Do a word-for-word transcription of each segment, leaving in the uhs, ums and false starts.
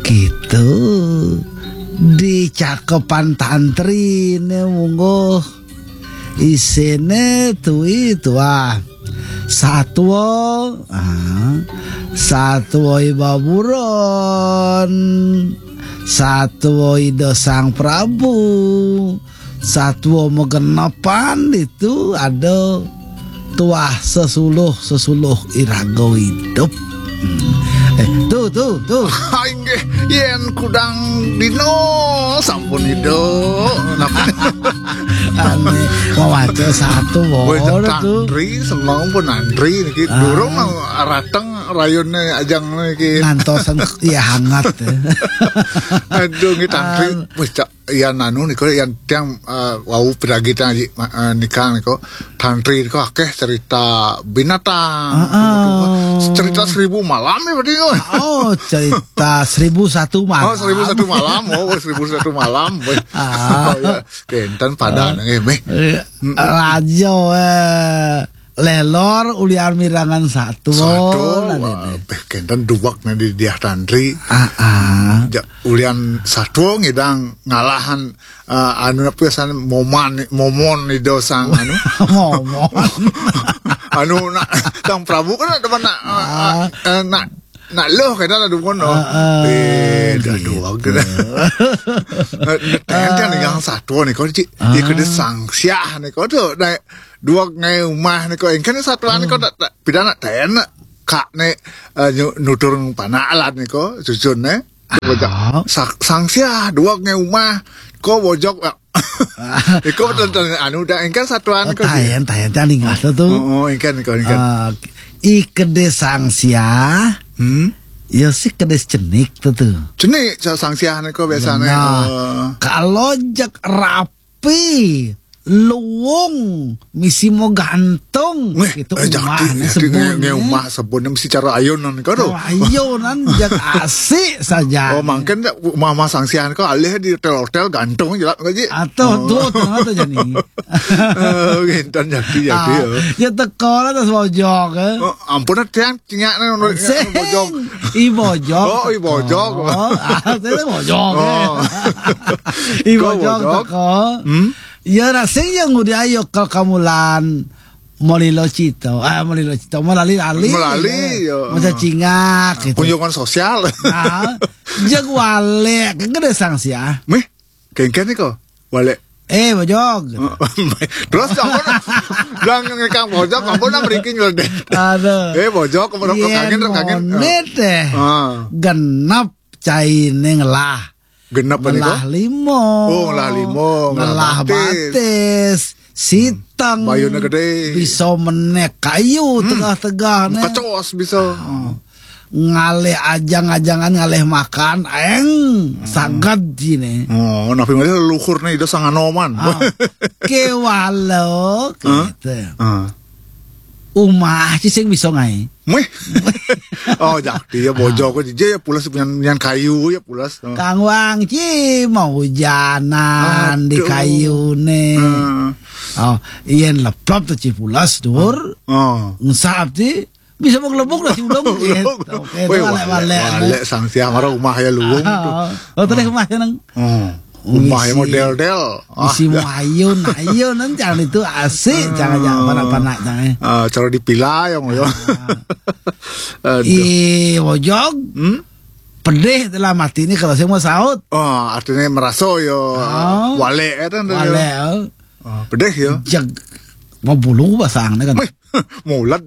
Gitu. Dicakepan tantri né mungguh. Isiné tui tuah. Satua, ah, satua i baburon, satua Ida Sang Prabu, satua magenepan itu ada tuah sesuluh-sesuluh iraga idup. Hmm. Eh, tuh, tuh, tuh. Inggih, yén kudang dina sampun ida. Napa? Ané mawaca satua tuh. Tantri, semeng pun antri niki. Ah. Durung nang rateng rayuné ajang niki. Ngantosan ya hangat ya. Aduh, nggih tantri. Ah. Wis, Cak, yan anu nika, yan tiang, eh, wau piragi tiang aji, eh, nika nika. Tantri nika akéh cerita binatang. Heeh. Cerita seribu malam ya berarti nika. Oh, cerita seribu satu malam. Oh, seribu satu malam. Oh, seribu satu malam. Wéh. Ah. Oh, ya. Kénten padaan nggih, méh. Iya. Mm-mm. Raja, eh, lélor ulian mirengang satua. Satua, nah, wah, ini. Béh, kénten duweg né di diah tantri. Ah, ah. Ja, ulian satua ngidang ngalahan, eh, anu napa pisan moman, momon Ida Sang anu. Momon. Anu nak Sang Prabu kan ada mana, eh, ah, eh, nak nak leuh kénten ada pun. Ah, ah. Béh, gitu. Duweg. Eh, téh kan yang satua nika, Cik. Ah. Di kedé Sang Siah nika tuh, naik duweg ngai umah nika, engkén satua nika, hmm, tak, tak, pidana tén, kak né, eh, nyu-, nutur panak alat nika, cucun né. Ah. Bojog. Sa-, Sang Siah, duweg ngai umah, ko bojog, eh. Iko betul, betul, anu, dah, engkén satua nika, taén, taén, taén, ingat tuh. Oh, oh, engkén, engkén, engkén. Eh, i kedé Sang Siah, hmm? Ya sih kedé cenik tuh, tuh. Cenik, Sa-, Sang Siah nika biasané, benar. Eh. Kalau jak rap pi, luung, misi mau gantung, wéh, gitu, eh, jakti, umahné jakti, nge-, nge-, sebunné. Umah sebunné misi cara ayunan, karo. Cara ayunan, jak asik saja. Oh, mangkén umah-umah Sang Siah nika alih di hotél-hotél gantung jelek, Ji. Atuh, oh. Tuh, tengah tuh jadi. Eh, kénten jakti, jakti, ah, ya. Ya teka lah tas bojog, eh. Oh, ampun, tiang Cingak né menurut sing bojog. I bojog. Oh, i bojog. Oh, ah, saya bojog, ya. Oh. I bojog, bojog teko. Hmm? Ya, nah, sing yang udah ayo ke kamulan Molilo Cito. Ah, Molilo Cito. Melali-lali. Melali, ya. Ya. Masa cingak, gitu. Kunjungan sosial. Nah, jeg walé, kedé Sang Siah. Méh? Kéngkén nika, walé. Eh, bojog. Terus ampun, bilang ngekang bojog, ampun, nah, mriki nyeledet. Aduh. Eh, bojog, ampun, yén kangen, kangen. Moné téh. Ah. Genep cainé ngelah. Genep apa nika? Ngelah lima. Oh, ngelah lima, ngelah batis. Ngelah batis. Siteng. Bayuné gedé. Bisa menék kayu, hmm, tegah-tegah né. Kecos bisa. Ah. Ngalih ajang-ajangan, ngalih makan, aéng, hmm, saged jiné. Oh, napi malih leluhurné Ida Sang Anoman. Ah, kéwala, hah? Gitu. Ah. Umah ci sing bisa ngaé. Méh. Oh, jakti ya, bojog, ah, aja ya pules punyan, punyan kayu ya pules. Ah. Kang Wang ci mau hujanan di, aduh, kayuné. Ah. Oh, yén leplep tuh ci pules, dur. Oh. Ngesap ci. Bisa mau gelebuk lah si ulung gitu. Gelebuk. Oké, wéh, itu walé-walé, walé, nah. Walé Sang Siah mara umah ya luung tuh. Ah, oh, terus umah ya nang. Oh. Umah ya mau del-del. Ah, isi ya. Mayun, mayun, kan jangan itu asik, ah, jangan, jangan panak-panak, jangan. Ah, cara dipila ya, mau ya. Ah. Aduh. I bojog. Hmm? Pedih dalam hati ini kalau saya mau saut. Oh, artinya merasa ya. Ah. Walé ya, kan, walé, ya. Oh, pedih ya. Jeg mau bulu basang kan. Wéh. Mulet.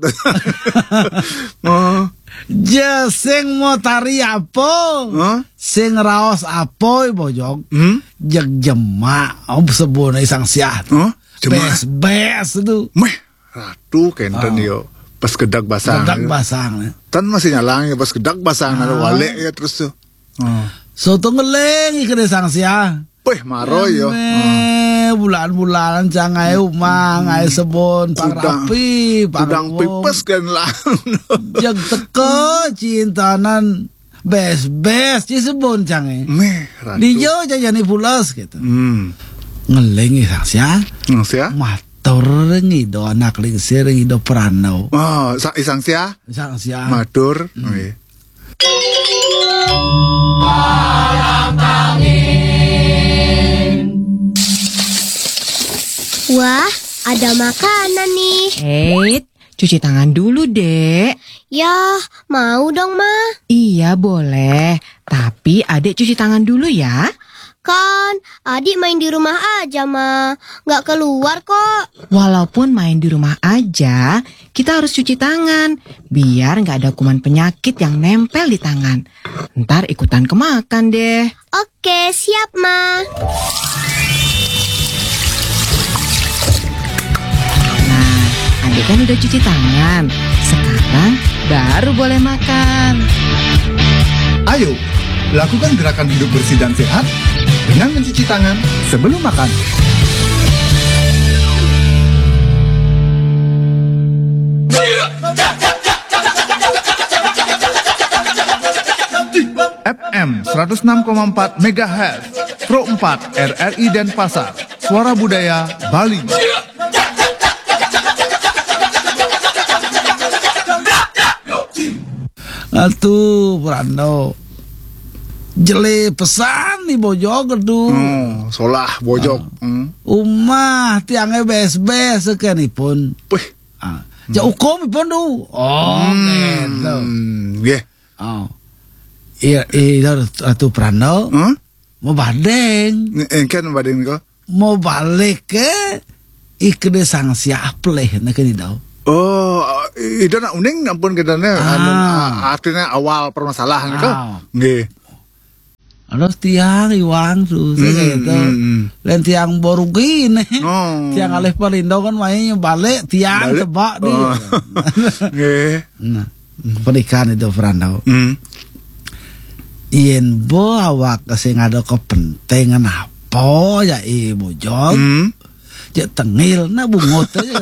Oh. Ja sing mau tari apa? Hah? Sing raos apa, i bojog? Hmm? Jeg jemak, oh, sebuna Sang Siah. Hah? Jemak. Bés-bés itu. Méh, ratu kénten, ah, yo. Pas gedag basang. Gedag basang, ya. Tan masih nyalang ya, pas gedag basang, ah, ada walé ya terus tuh. Oh. Soto ngeling i kedé Sang Siah. Wéh, maro ya. Émé, hmm, bulan-bulan cang ngaé umah, hmm, ngaé sebun, pang kudang, rapi, pang kudang umum. Pipes kan lah. Jeg teka cintanan bés-bés ci sebun cangé. Méh, ratu. Dija jajani pules gitu. Hmm. Ngeling i Sang Siah. Sang Siah? Matur ring Ida Anak Lingsir, ring Ida Prana. Oh, sa-, i Sang Siah? Sang Siah. Matur. Hmm. Nggih. ada makanan nih. Eh, cuci tangan dulu, Dek. Ya, mau dong, Ma. Iya, boleh. Tapi Adek cuci tangan dulu ya. Kan, Adik main di rumah aja, Ma. Nggak keluar kok. Walaupun main di rumah aja, kita harus cuci tangan. Biar nggak ada kuman penyakit yang nempel di tangan. Ntar ikutan kemakan deh. Oke, siap, Ma. Nah, Adek kan udah cuci tangan. Sekarang baru boleh makan. Ayo, lakukan gerakan hidup bersih dan sehat dengan mencuci tangan sebelum makan. F M seratus enam koma empat megahertz, Pro empat R R I Denpasar, Suara Budaya Bali. Atuh, Prando. Jelé pesan nih bojog tuh. Oh, solah bojog. Ah. Hmm. Umah tiangnya bes-bes sekenipun. Wih. Ah, ja ukum ipun tuh. Oh, gitu. Hmm, nggih. Oh. Iya, iya, Ratu Prando. Hah? Mau badeng. Nge-, engken badeng kok. Mau balik ke ikede sang siapleh, nah, kene dau. Oh, ida nak uning ampun kedane, anu, Ah. a-, artinya awal permasalahan itu. Ah. Nggih. Aduh, tiang iwang susah Hmm, gitu. Hmm, hmm. Lain tiang borugi nih. Oh. Tiang alih perlindungan mainnya balik, tiang Balik. Tebak dia. Oh. Nggih. Nah, pernikahan itu, Prando. Hmm. Yen bo awak sing ada kepentingan apa ya, i bojog? Hmm. Cek tengil, nah, bungut aja.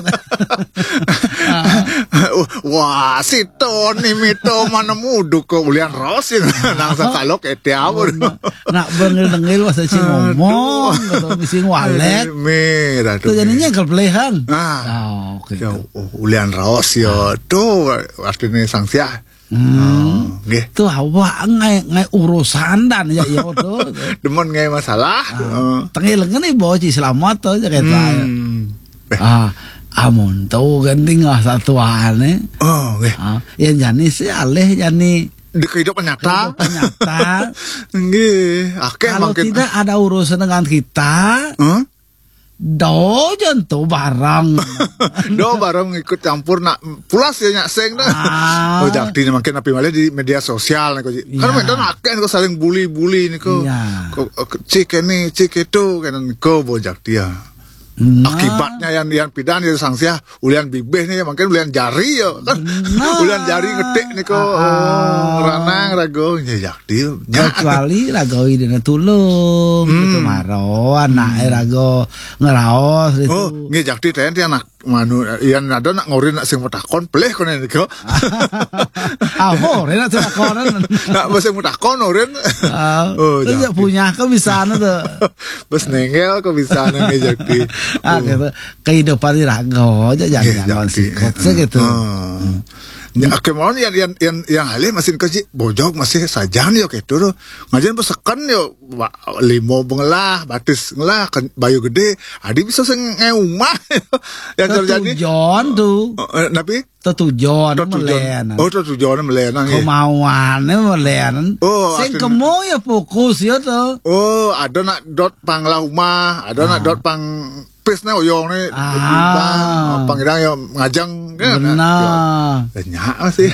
Wah, si Tony mito mana muduk kok ulian rosin. Nang sakalok ete awur. Nak bengil-bengil masa si Aduh. Ngomong, atau misi walet. Merah Tuh tuh. Jadinya kepelehan. Ah. Oh, oke. Ya, tuh. Oh, ulian raos ya. Tuh artinya sang siah. Hmm. Oh, nggih. Tuh awak ngai, ngai urusan dan ya, ya tuh. Demen ngai masalah. Ah, Heeh. Tengil ngene bocah selamat tuh, ya, kayak Hmm. Eh. Ah, amun tuh kan tinggal satuan, eh. Oh, nggih. Ah, ya jani sih alih jani Di kehidupan nyata. Kehidupan nyata. Nggih, akeh Kalau mangkin. Tidak ada urusan dengan kita, Hah? Do jantu bareng. Do bareng ikut campur nak pulas ya nyak sing dah. Ah. Oh, jakti ni mangkin api malih di media sosial ni ko. Kan Ya. Mentan akeh ko saling bully-bully ni ko. Ya. Ko, ko, cik ini, cik itu kan ko bo jakti ya. Nah. Akibatnya yang yang pidan ya sang siah ulian bibih ni mangkin ulian jari ya. Nah. Ulian jari ngetik ni ko. Ah, ah. Oh, ranang rago nya jakti. Nya. Kecuali rago idene tulung Hmm. Gitu maro anake rago ngeraos gitu. Oh, nggih jakti ten ti anak manu yang ada nak ngorin nak sing metakon pelih kone niko. Ah, ngorin nak sing metakon. Nak sing metakon ngorin. Ah, Oh, terus ya jakti. Punya ke bisa anu tuh. Bes nengel ke bisa nang nggih jakti. Ah, Oh. Gitu. Kehidupan di rago aja jangan Nggih, jangan jakti. Sikut sih gitu. Ah. Ya, kemauan yang yang yang yang alih masih kaji bojog masih sajan yo gitu tuh. Ngajen peseken yo wa-, limo bengelah, batis ngelah, ken-, bayu gede, adi bisa sing ngeumah. Yang terjadi Tetujon tuh. Eh, eh, napi? Tetujon Tetujon. Melenan. Oh, tetujon melenan, nggih. Kemauannya melenan. Oh, Sing artinya kemo ya fokus ya tuh. Oh, ada nak dot pang lah umah, ada nak Ah. Dot pang pis ne oyong ne Ah. Pang idang yo ngajeng kan. Benar. Yo, nyak sih.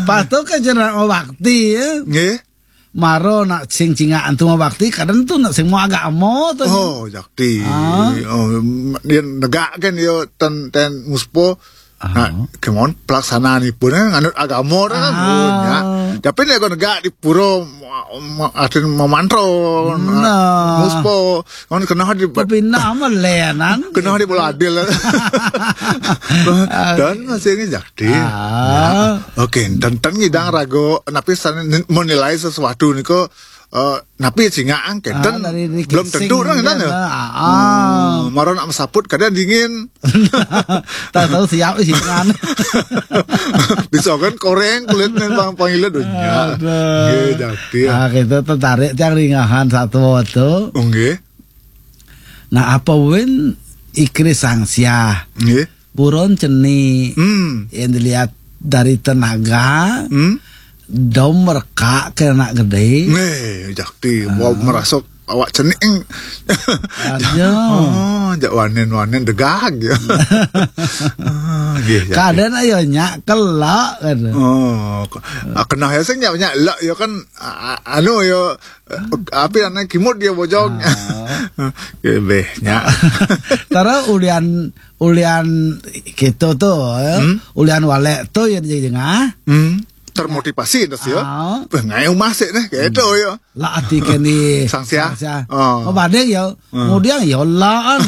Pas tu ke jeneng bakti ya. Nggih. Maro nak sing cingak antu bakti kadang tu nak sing mau agak amo tu. Oh, jakti. Ah. Oh, dia negak kan yo ten ten muspo. Nah, Ah. Kemon pelaksanaan ipun kan nganut agama kan. Ah. Oh, nya. Tapi nek kon negak di pura ma-, ma-, artin memantro. Nah. Nah, muspo. Kon kena di Kepindah melenan. Kena di bola adil. Dan masih ini jakti. Ah. Ya. Oke, tentang ngidang rago napi sana menilai sesuatu niko eh, napi singa angketen. Ah, dari, dari belum tentu kan kan ya. Ah, ah. Hmm, maro nak mesaput kadang dingin. Tak tahu siap sih kan. Bisa kan koreng kulit nih bang panggilnya dunia. Aduh. Nggih, jakti ya. Ah, kita tertarik tiang ringahan satu waktu. Oh, nggih. Nah, apa wen Ikri Sangsiah. Nggih. Buron cenik. Hmm. Yang dilihat dari tenaga, Hmm. dom merekak ke anak gede. Nggih, jakti. Ah. Mau merasa awak cenik. Aduh. Oh, jak wanen-wanen degag ya. Ah, nggih, jakti. Kadang ayo nyak kelak kan. Oh, ko- ah, kena ya sing nyak nyak lak ya kan, ah, anu ya, eh, api anak kimut dia bojong. Ah. Nggih, beh, nyak. Tara ulian, ulian kita tu, ya. Hmm? Ulian walek tu ya jengah. Hmm. Termotivasi dah ya. Ah. Pengai masih nih, gitu ya. Lah ati keni Sangsiah. Sangsiah. Oh. Oh, banding ya. Hmm. Kemudian ya lah an.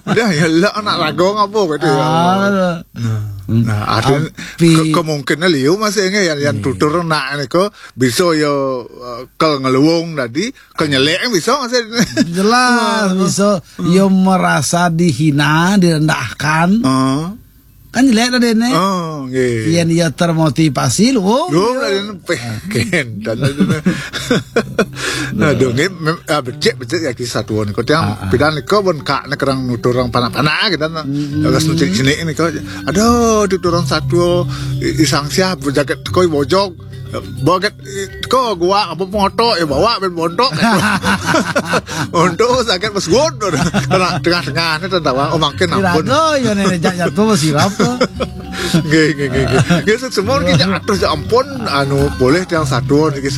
Udah ya lah anak ragong apa gitu ya. Ah. Nah, nah, ada Tapi ke- kemungkinan liu masih ini yang, yang Hmm. tutur nak ni ko bisa ya, eh, ke ngeluung tadi, ke nyelek bisa masih. Jelas Ah. bisa. Hmm. Ya merasa dihina, direndahkan. Ah. Kan jelek tadi ni. Oh, nggih. Yang dia termotivasi lu. Oh, Lu iya. Ada peken dan ada. Aduh, nggih, mem- ah, becik becik ya kisah tuan. Kau tiang Ah, ah. Pidan kau pun kak nak kerang nutur orang panak-panak kita nak. Hmm. Agak sentik sini ni kau. Aduh, di orang satu i- isang siap berjaket kau bojok. Baget ko gua apa moto ya bawa ben bontok. Untuk sakit pas gun. Kena tengah-tengah ni tentang oh makin ampun. Kira-kira ya ni jak jatuh masih apa? Nggih, nggih, nggih, nggih. Nggih, semua kita atus ya ampun, anu boleh yang satu niki